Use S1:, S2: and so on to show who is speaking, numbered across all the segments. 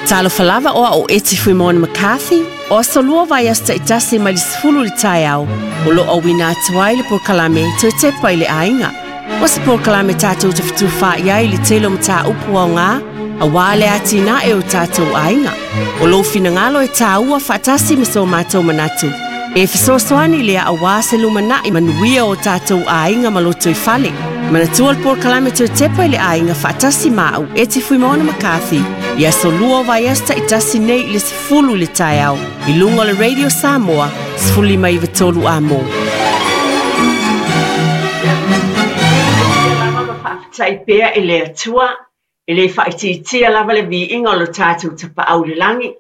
S1: Talofa lava o au o Eti Fuimaono McCarthy, o aso lua vaiaso taitasi mai le 10 i le taeao, o lo o auina atu ai le polokalame Toe Tepa i le Aiga. O se polokalame tatou te fetufaai ai i le tele o mataupu aoga aua le atinae o tatou aiga. O lou finagalo e tāua faatasi ma so matou manatu. E fesoasoani lea aua se lumanai manuia o tatou aiga ma lotoifale. Manatua le polokalame Toe Tepa i le Aiga faatasi ma au Eti Fuimaono McCarthy i aso lua o vaiaso taitasi nei i le 10 i le taeao i luga o le Radio Samoa 1593 Amo.
S2: Ia lava ma faafetai pea i le Atua, e le faaitiitia lava le viiga o lo tatou Tapaau i le lagi,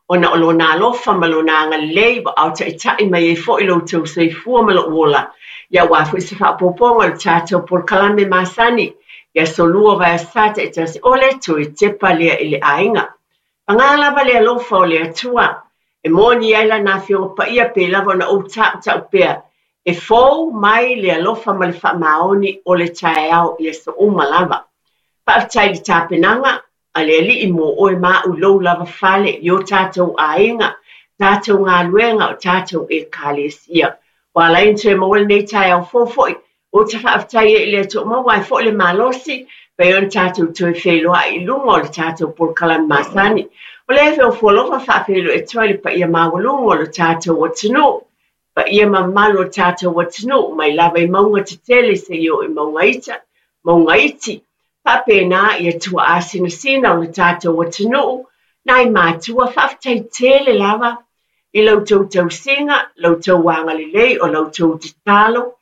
S2: ona o Lona alofa ma Lona agalelei ua aotaitai mai ai foi lo outou soifua ma lou ola, ia aua foi se faaopoopoga o le tatou polokalame masani i aso lua o vaiaso taitasi o le Toe Tepa lea i le Aiga. Paga lava le alofa o le Atua, e moni ai Lana Afioga Paia pei lava ona ou tautau pea, e fou mai le alofa ma le faamaoni o le taeao i aso uma lava. Faafetai i le tapenaga a le Alii mo oe ma au i lou lava fale, i o tatou aiga, tatou galuega, o tatou Ekalesia. Ua ala ai ona toe maua lenei taeao fou foi, ou te faafetai ai i le Atua ua maua ai foi le malosi, pei ona tatou toe feiloai i luga o le tatou polokalame masani. O lea e alofa faafeiloai atu ai le paia maualuga o le tatou atunuu, paia ma mamalu o le tatou atunuu, mai lava i mauga tetele seia oo i mauga ita, mauga iti, faapena i atua sinasina o le tatou atunuu, nai matua faafetai tele lava i la outou tausiga, la outou agalelei, o la outou tatalo,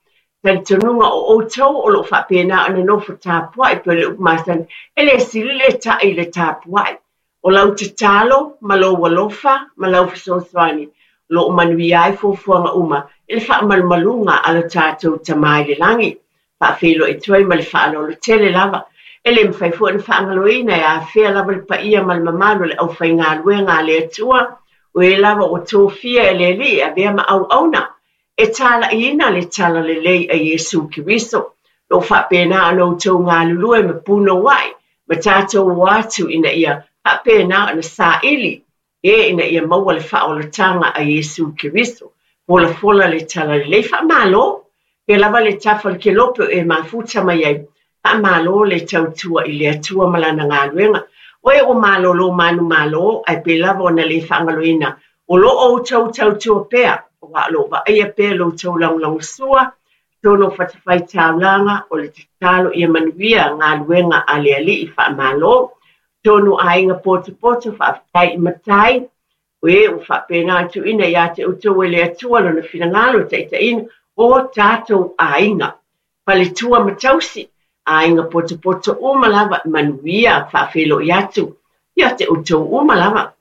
S2: talitonuga o outou o loo faapena ona nofo tapuai pei o le upu masani, e le sili le ta'i i le tapuai. O lau tatalo ma lou alofa ma lau fesoasoani o loo manuia ai fuafuaga uma i le faamalumaluga a lo tatou Tama i le lagi. Faafeiloai atu ai ma le faaaloalo tele lava. E le mafai foi ona faagaloina e afea lava le paia ma le mamalu o le aufaigaluega a le Atua, o e lava ua tofia e le Alii e avea ma auauna e talaiina le talalelei a Iesu Keriso. Lo faapena ona outou galulue ma punouai ma tatou o atu ina ia faapena ona saili e ina ia maua le faaolataga a Iesu Keriso. Folafola le talalelei, faamalo pe lava le tafa o le kelope o e mafuta mai ai, faamalo le tautua i le Atua ma lana galuega. O e ua malolo manumalo, ae pe lava ona le faagaloina, o lo o outou tautua pea, aua o lo o vaaia pea lo outou lagolagosua, tonu o fatafaitaulaga, o le tatalo ia manuia galuega a le Alii faamalo. Tonu aiga potopoto faafetai i matai, o e ua faapena tuuina ia te outou e le Atua lona finagalo taitaiina o tatou aiga. Faletua ma tausi, aiga potopoto uma lava, manuia faafeiloai atu ia te outou uma lava.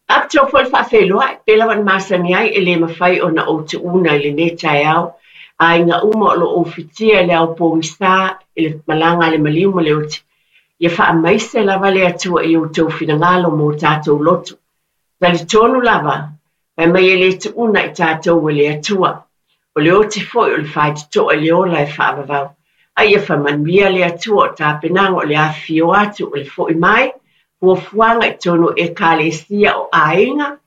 S2: Faapitoa foi le faafeiloai, pe lava na masani ai e le mafai ona ou tuuna i lenei taeao. Aiga uma o lo o ou fitia i le ao pogisa i le malaga a le maliu ma le oti. Ia faamaise lava le Atua i outou finagalo mo tatou loto. Talitonu lava, fai mai e le tuuna i tatou e le Atua. O le oti foi o le faitotoa i le ola e faavavau. A ia faamanuia le Atua o tapenaga o le afifio atu o le foi mai, fuafuaga i tonu o Ekalesia o aiga,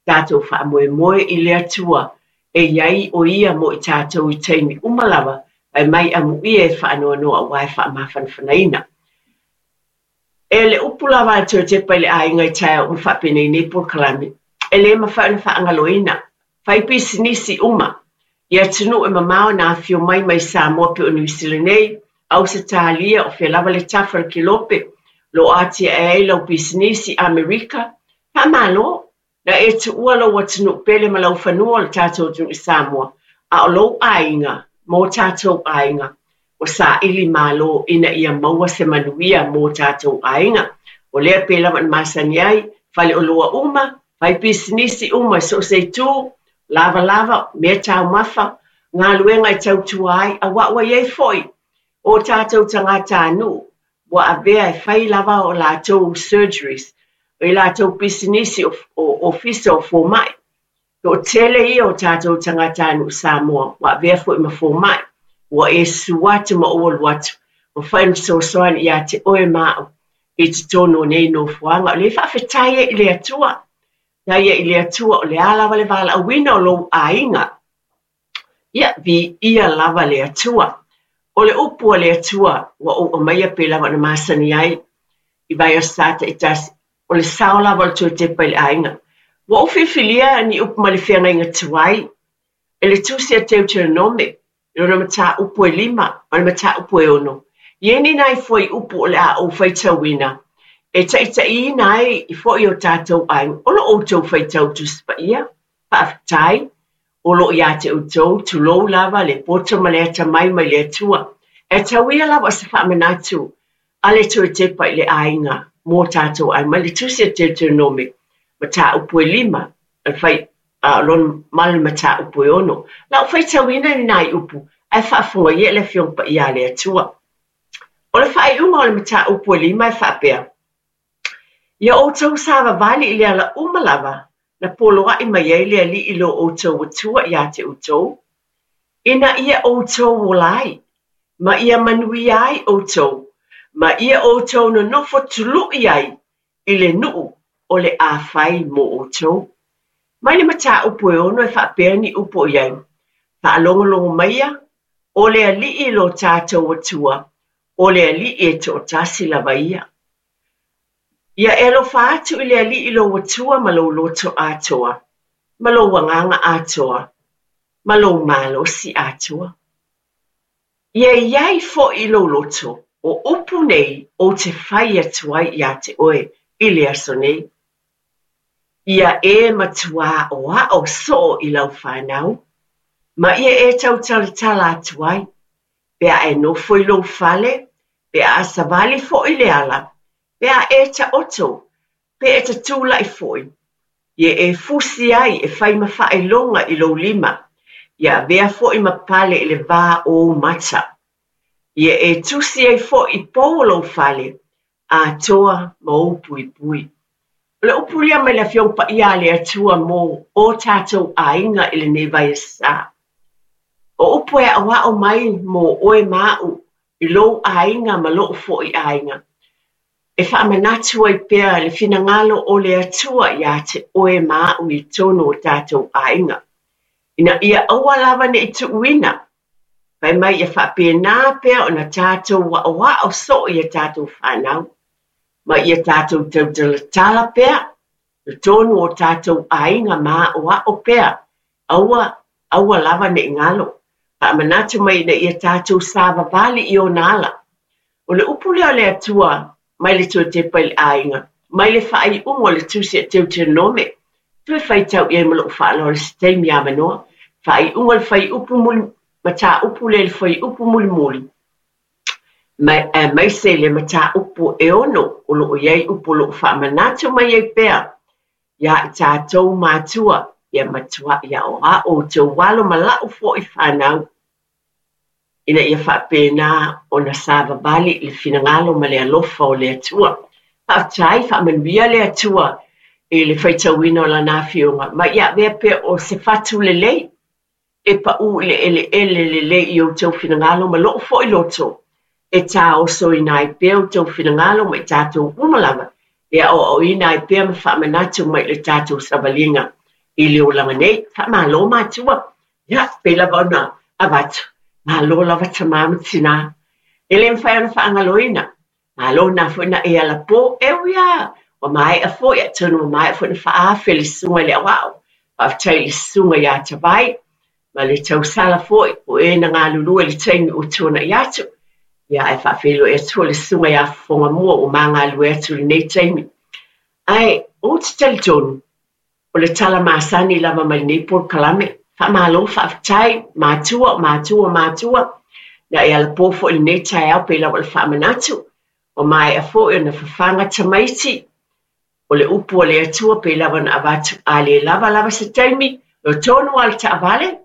S2: tatou faamoemoe i le Atua e iai o ia mo i tatou i taimi uma lava, fai mai amuia e faanoanoa aua e faamafanafanaina. E le upu lava a le Toe Tepa i le Aiga i taeao uma faapenei nei polokalame, e le mafai ona faagaloina, fai pisinisi uma, i atunuu e mamao na afio mai mai Samoa pei o Niu Sila nei, Ausetalia, o fea lava le tafa o le kelope, lo o atiae ai lau pisinisi, Amerika, faamalo, na e tuua lou atunuu pele ma lau fanua o le tatou atunuu i Samoa, a o lou aiga, mo tatou aiga, ua saili malo ina ia maua se manuia mo tatou aiga. O lea pe lava na masani ai, faleoloa uma, fai pisinisi uma i so o se itu, lavalava, mea taumafa, galuega e tautua ai, aua ua iai foi o tatou tagatanuu ua avea e fai lava o latou surgeries, o i latou pisinisi o ofisa o fomai. Toatele ia o tatou tagatanuu Samoa ua avea foi ma fomai, ua e susu atu ma ou alu atu, mafai ona fesoasoani ia te oe ma au. i totonu o nei nofoaga. O lea e faafetai ai i le Atua. Faafetai ai i le Atua o le a lava le valaauina o lou aiga. Ia, viia lava le Atua. O le upu a le Atua ua ou aumaia pei lava ona masani ai i vaiaso sa taitasi, o le sao lava o le toe tepa i le aiga. Ua ou filifilia ni upu mai le feagaiga tuai e le Tusi a Deuteronome i lona mataupu e 5 ma le mataupu e 6. E i ai ni nai fuaiupu o le a ou faitauina e taitaiina ai foi o tatou aiga. O lo outou faitau Tusi Paia, faafetai, o lo o ia te outou, tulou lava le poto ma le atamai mai le Atua. E tau ia lava o se faamanatu a le toe tepa i le aiga mo tatou aiga. Mai le Tusi a Deuteronome, mataupu e 5, le fai, ma le mataupu e 6. Lau faitauina ni nai upu, ae faafofoga ia le Afioga Paia a le Atua. O le faaiuga o le mataupu e 5 e faapea, Ia outou savavali i le ala uma lava, na poloai mai ai le Alii lo outou Atua ia te outou, ina ia outou ola ai, ma ia manuia ai outou, ma ia outou nonofo tului ai i le nuu o le a fai mo outou. Mai le mataupu e 6 e faapea ni upu o i ai, Faalogologo maia, o le Alii lo tatou Atua, o le Alii e toatasi lava ia. Ia e alofa atu i le Alii lou Atua ma lou loto atoa, ma lou agaga atoa, ma lou malosi atoa. Ia i ai foi i lou loto, o upu nei ou te fai atu ai ia te oe i le aso nei. Ia e matuā aoao soo i lau whanau, ma ia e tautalatala atu ai, pe a e nofo i lou fale, pe a savali foi le ala, pe a e taoto, pe e tatulai foi. Ia e fusi ai e fai ma faailoga i lou lima, ia avea foi ma pale i le va o ou mata. Ia e tusi ai foi i pou o lou fale, atoa ma ou puipui. O le upu lea mai le Afioga Paia a le Atua mo o tatou aiga i lenei vaiaso. O upu e aoao mai mo oe ma a'u i lou aiga ma lou foi aiga. E faamanatu ai pea le finagalo o le Atua ia te oe ma a'u i totonu o tatou aiga. Ina ia aua lava nei tuuina. Fai mai ia faapena pea ona tatou aoao soo ia tatou whanau. Ma ia tatou tautalatala pea, i totonu o tatou aiga ma aoao pea, aua, aua lava nei galo. Faamanatu mai ina ia tatou savavali i ona ala. O le upu lea o le Atua mai le toe tepa i le aiga, mai le faaiuga o le Tusi a Deuteronome, toe faitau i ai ma lou faaaloalo se taimi avanoa. Faaiuga o le fuaiupu muli, mataupu lea i le fuaiupu mulimuli. Aemaise le mataupu e 6 o loo i ai upu o loo faamanatu mai ai pea ia i tatou matua, ia matuai aoao outou alo ma lau foi whanau. Ina ia faapena ona savavali i le finagalo ma le alofa o le Atua. Faafetai, faamanuia le Atua i le faitauina o lana afioga. Ma ia avea pea o se fatu lelei e pau i le eleele lelei i outou finagalo ma lou foi loto. E taosoina ai pea outou finagalo ma i tatou uma lava. E aoaoina ai pea ma faamanatu mai le tatou savaliga i le olaga nei. Faamalo matua. Ia, pei lava ona avatu. Malo lava tamā ma tinā. E le mawhai ona whaangaloina. Malo nā foi na e ala pō. E ui a, wa maea foi, atonu wa maea foi na whaafe le susuga i le aoao. Faafetai i le susuga ia Tavai. Ma le tausala foi, o e na galulue le taimi o tuanai atu. Ia ae faafeiloai atu le susuga ia Fofogamua ua magalue atu lenei taimi. Ae, ou te talitonu, o le tala masani lava mai lenei polokalame. Faamalo, faafetai, matua, matua, matua. Na e alapo foi lenei taeao pei lava o le faamanatu. Ua maea foi ona fafaga tamaiti. O le upu o le Atua pei lava ona avatu a le lava lava se taimi, o tonu a le taavale.